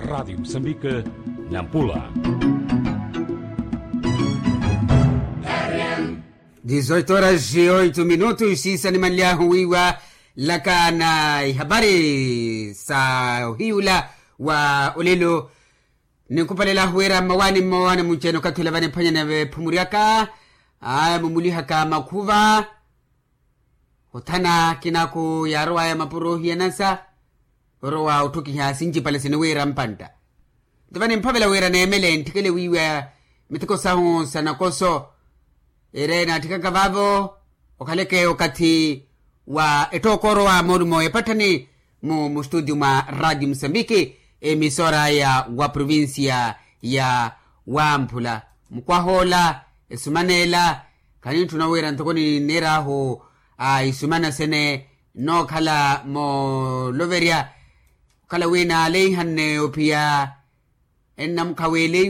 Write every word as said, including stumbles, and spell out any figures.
Radiyo musambika, nampula. Dizoito horas e oito minutos siisa nimanly'ahu wiiwa, laka na ihapari sa ohiyula wa olelo. Ninkupalel'ahu wira mmawaani mmowaani munci-ene okathi ula vaniphwanyana veephumu ryaka, aya mumulihaka makhuva. Othana kinaku yaarow'aya mapuro ohiyanasa, orowa otthukiha sincipale sini wira mpantta. Nto vanimphavela wira neemele ntthikele wiiwa miteko sahu sa nakoso, ere naatthikaka vaavo okhaleke okathi wa ettooka orowa moolumo epatthani mu mustutio mwa radio musambiki, emisora ya wa provincia ya wamphula. Mukwah'ola esuman'ela khanintthuna wira ntoko nineer'ahu a isumana sene nnookhala mooloverya okhala wi naaleihanne ophiya ennamukhaweleiwe.